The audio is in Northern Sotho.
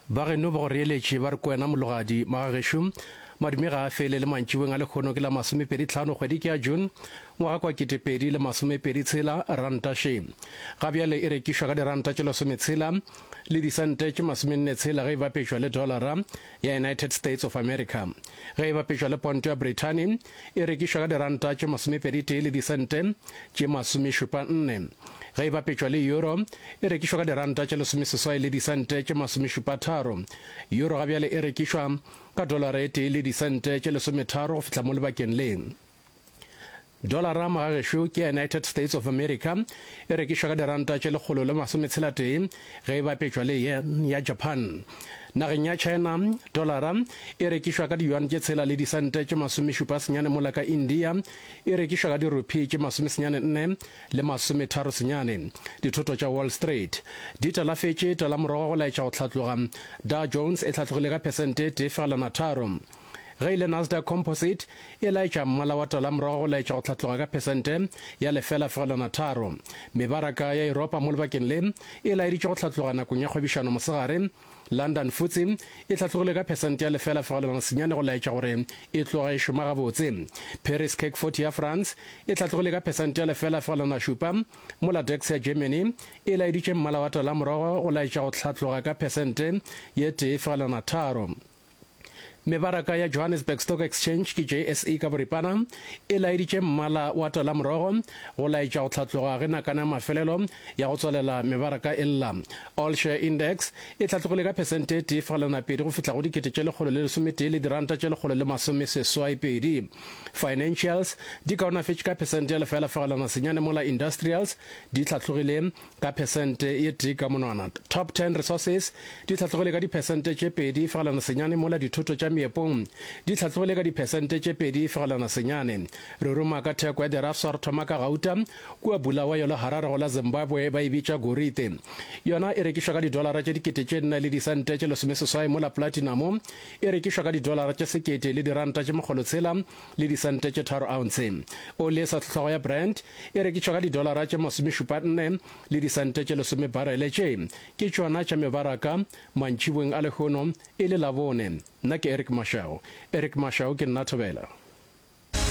Ba geno ba go reeletše ba re ko wena mologadi. Magagešo, madume ga a fele le mantšiboeng a lekgono ke la masomepedi tlhano kgwedi ke ya June ngwaga kwa 2026 ranta še. Ga bjale e rekišwa ka diranta tše lesometshela le disente tše masomenne tshela ge e bapetšwa le dollara ya United States of America. Ge e bapetšwa le ponto ya Brithani e rekišwa ka diranta tše masomepedi tee le disente tše masomešupa nne. Ge e bapetšwa le euro e rekišwa ka diranta tše lesomeseswai le disente tše masomešupa tharo. Euro ga bjale e rekišwa ka dolara e tee le disente tše lesometharo go fihla mo lebakeng le. Dolara magagešo ke ya United States of America e rekišwa ka diranta tše lekgolo le masometshela-tee ge e bapetšwa le yen ya Japan. Nageng ya China, dolara e rekišwa ka di-yuan tše tshela le disente tše masomešupa senyane mola ka India e rekišwa ka di-rupee tše masomesenyane nne le masometharo senyane. Dithoto tša Wall Street di talafetše talamorogo go laetša go hlatloga. Dow Jones e hlatlogile ka phesente e tee fegelwana tharo. Ge e le Nasdaq Composite, e laetša mmala wa tala morago go laetša go hlatloga ka phesente ya 0,3. Mebaraka ya Yuropa mo lebakeng le e laeditše go hlatloga nakong ya kgwebišano mosegare. London FTSE e hlatlogile ka phesente ya 0,9 go laetša gore e tloga e šoma gabotse. Paris CAC 40 ya France e hlatlogile ka phesente ya 0,7, mola DAX ya Germany e laeditše mmala wa tala morago go laetša go hlatloga ka phesente ye 1,3. Mebaraka ya Johannesburg Stock Exchange ke JSE ka boripana e laeditše mmala wa talamorogo go laetša go hlatloga ge nakana ya mafelelo ya go tswalela mebaraka e lla. All Share Index e hlatlogile ka phesente e tee fegelwana pedi go fihla go 1,111 le diranta tše 182. Financials di kaonafetše ka phesente ya lefela fegelwana senyane mola Industrials di hlatlogile ka phesente ye tee ka monwana. Top Ten Resources di hlatlogile ka diphesente tše 2.9 mola dithoto tša meepong di hlatlogile ka diphesente tše 2.9. Re ruma ka theko ya dirafsa re thoma ka gauta kua Bulawayo le Harare go la Zimbabwe ba e bitša gorite. Yona e rekišwa ka didolara tše dikete tše nne le disente tše lesomesesoai mola platinamo e rekišwa ka didolara tše sekete le diranta tše makgolotshela le disente tše tharo ounce. Oli e sa hlohlwago ya Brent e rekišwa ka didolara tše masomešupa nne le disente tše lesome barele. Tše ke tšona tša mebaraka mantšiboeng a lehono e le Labone. Nna ke Eric Mashau. Eric Mashau ke nna Thobela.